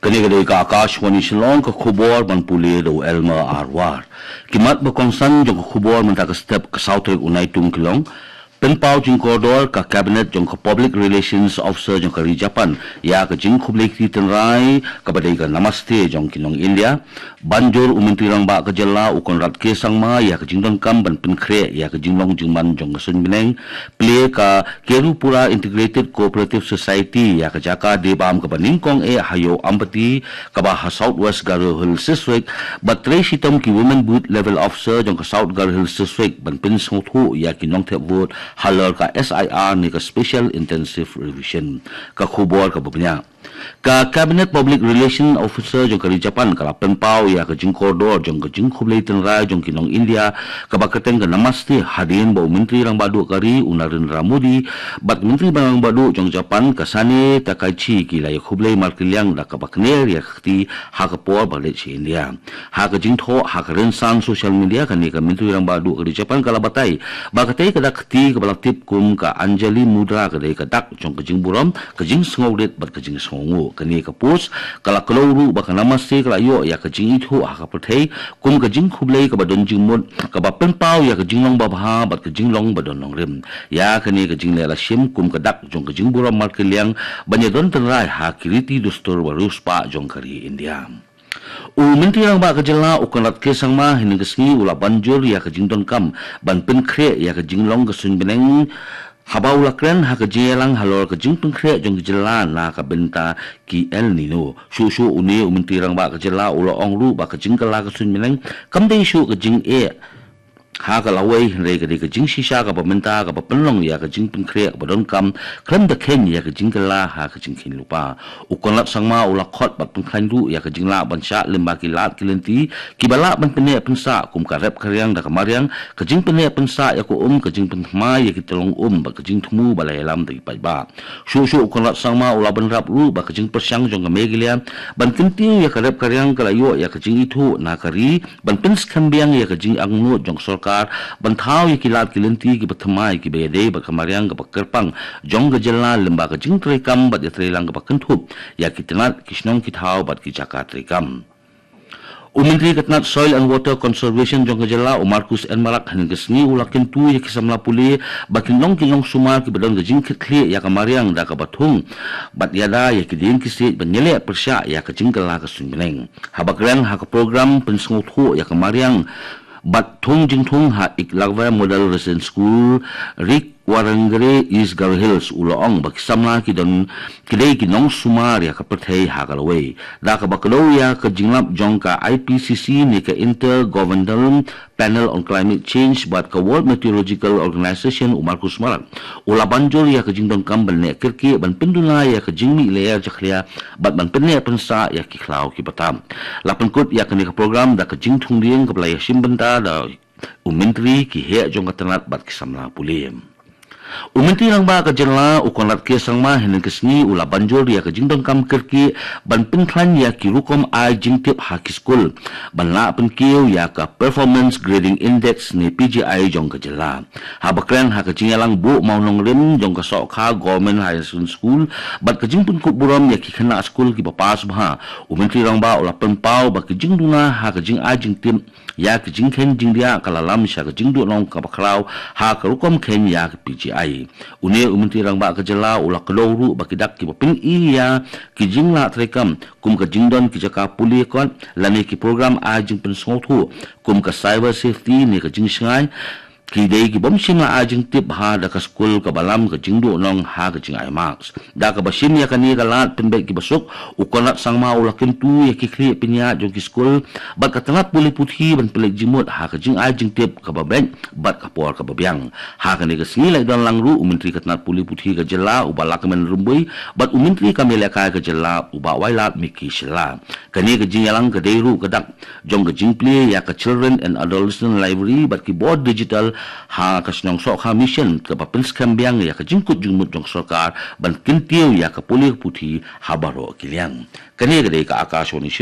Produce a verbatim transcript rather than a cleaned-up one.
Kane ka dei ka Akashvani Shillong, ka khubor ban pule da u Elmer Arwar. Ki mat ba kongsan jong ka khubor mynta ka step, ka saw tarik u Naitung ki long: pynpaw jingkordor ka Cabinet jong ka Public Relations Officer jong ka ri Japan ïa ka jingkhublei kti tynrai kaba dei ka Namaste jong ki nong India. Ban jur u Myntri Rangbah ka jylla u Conrad K Sangma ïa ka jingdonkam ban pynkhreh ïa ka jinglong jingman jong ka suiñ bneng. Plie ka Kerupura Integrated Cooperative Society ïa ka jaka die bam kaba nyngkong eh ha Ïew Ampati kaba ha South West Garo Hills District, bad trei shitom ki Women Booth Level Officer jong ka South Garo Hills District ban pynsngewthuh ïa ki nongthep vote halor ka S I R ne ka Special Intensive Revision. Ka khubor kaba bniah. Ka Cabinet Public Relation Officer jong ka ri Japan ka la pynpaw ïa ka jingkordor jong ka jingkhublei tynrai jong ki nong India kaba kyrteng ka Namaste, hadien ba u Myntri Rangbah Duh ka ri u Narendra Modi bad Myntri Rangbah Duh jong Japan ka Sanae Takaichi ki la ïakhublei markylliang da kaba kner ïa ka kti ha ka por ba leit sha India. Ha ka jingthoh ha ka rynsan social media, kane ka Myntri Rangbah Duh ka ri Japan ka la batai ba katei ka dak kti kaba la tip kum ka Anjali Mudra ka dei ka dak jong ka jingburom, ka jingsngewrit bad ka jingsngewnguh. Kane ka post ka la kdew ruh ba ka Namaste ka la ïoh ïa ka jingithuh ha ka pyrthei kum ka jingkhublei kaba don jingmut, kaba pynpaw ïa ka jinglong babha bad ka jinglong ba don nongrim. Ïa kane ka jingleh la shim kum ka dak jong ka jingburom markylliang ban ïadon tynrai ha ki riti dustur ba riewspah jong ka ri India. U Myntri Rangbah ka jylla u Conrad K Sangma hynne ka sngi u la ban jur ïa ka jingdonkam ban pynkhreh ïa ka jinglong ka suiñ bneng, haba u la kren ha ka jingïalang halor ka jingpynkhreh jong ka jylla na ka bynta ki El Nino. Shuh shuh une u Myntri Rangbah ka jylla u la ong ruh ba ka jingkylla ka suiñ bneng kam dei shuh ka jingeh ha ka lawei, hynrei ka dei ka jingshisha kaba mynta kaba pynlong ïa ka jingpynkhreh kaba donkam khlem da kheiñ ïa ka jingkylla ha ka jingkheiñ lypa. U Conrad Sangma u la khot bad pynkhlaiñ ruh ïa ka jinglah ban shah lyngba ki lad ki lynti kiba lah ban pynneh pynsah, kum ka rep ka riang da ka mariang, ka jingpynneh pynsah ïa ka um, ka jingpynthymmai ïa ki tyllong um bad ka jingthmu ba la ïalam da ki paidbah. Shuh shuh u Conrad Sangma u la bynrap ruh ba ka jingpyrshang jong ka Meghalaya ban kyntiew ïa ka rep ka riang ka la ïoh ïa ka jingithuh na ka ri ban pynskhem biang ïa ka jingangnud jong ka sorkar ban thaw ïa ki lad ki lynti kiba thymmai kiba ïadei bad ka mariang kaba kyrpang jong ka jylla lyngba ka jingtreikam bad ïatreilang kaba kynthup ïa ki tnat, ki shnong ki thaw bad ki jaka treikam. U Myntri ka tnat Soil and Water Conservation jong ka jylla u Marcuise N Marak hynne ka sngi u la kyntu ïa ki samla pule ba kin long ki nongsumar kiba don ka jingkitkhlieh ïa ka mariang da kaba thung bad ïada ïa ki dieng ki siej ban ïaleh pyrshah ïa ka jingkylla ka suiñ bneng. Haba kren ha ka program pynsngewthuh ïa ka mariang bad thung jingthung ha Eklavya Model Residential School, Rikwarangre, East Garo Hills, u la ong ba ki samla ki don, ki dei ki nongsumar ïa ka pyrthei ha ka lawei. Da kaba kdew ïa ka jinglap jong ka I P C C ne ka Intergovernmental Panel on Climate Change bad ka World Meteorological Organization, u Marcuise Marak u la ban jur ïa ka jingdonkam ban neh kyrkieh ban pynduna ïa ka jingmih lyer jakhlia bad ban pynneh pynsah ïa ki khlaw kiba tam. La pynkut ïa kane ka program da ka jingthung dieng kaba la ïashim bynta da u Myntri, ki heh jong ka tnat bad ki samla pule. U Myntri Rangbah ka jylla u Conrad K Sangma hynne ka sngi u la ban jur ïa ka jingdonkam kyrkieh ban pynkhlaiñ ïa ki rukom ai jingtip ha ki skul ban lah pynkiew ïa ka Performance Grading Index ne P G I jong ka jylla. Haba kren ha ka jingïalang buh mawnongrim jong ka Sohkha Government Higher Secondary School bad ka jingpynkup burom ïa ki khynnah skul kiba pass bha, u Myntri Rangbah u la pynpaw ba ka jingduna ha ka jingai jingtip ïa ka jingkheiñ jingdiah ka la lam sha ka jingduhnong kaba khraw ha ka rukom kheiñ ïa ka P G I. Une u Myntri Rangbah ka jylla u la kdew ruh ba ki dak kiba pyni ïa ki jinglah treikam kum ka jingdon ki jaka pule kot lane ki program ai jingpynsngewthuh kum ka cyber safety ne ka jingshngaiñ, ki dei ki bym shym la ai jingtip bha da ka skul kaba lam ka jingduhnong ha ka jingai marks. Da kaba shim ïa kane ka lad pynbeit kiba suk, u Conrad Sangma u la kyntu ïa ki khlieh pynïaid jong ki skul bad ka tnat pule puthi ban pynleit jingmut ha ka jingai jingtip kaba beit bad ka por kaba biang. Ha kane ka sngi la ïadon lang ruh u Myntri ka tnat pule puthi ka jylla u Bah Lahkmen Rymbui bad u Myntri kam ïalehkai ka jylla u Bah Wailadmiki Shylla. Kane ka jingïalang ka dei ruh ka dak jong ka jingplie ïa ka Children and Adolescent Library bad ki bor digital ha ka shnong Sohkha Mission kaba pynskhem biang ïa ka jingkut jingmut jong ka sorkar ban kyntiew ïa ka pule ka puthi ha baroh ki liang. Kane ka dei ka Akashvani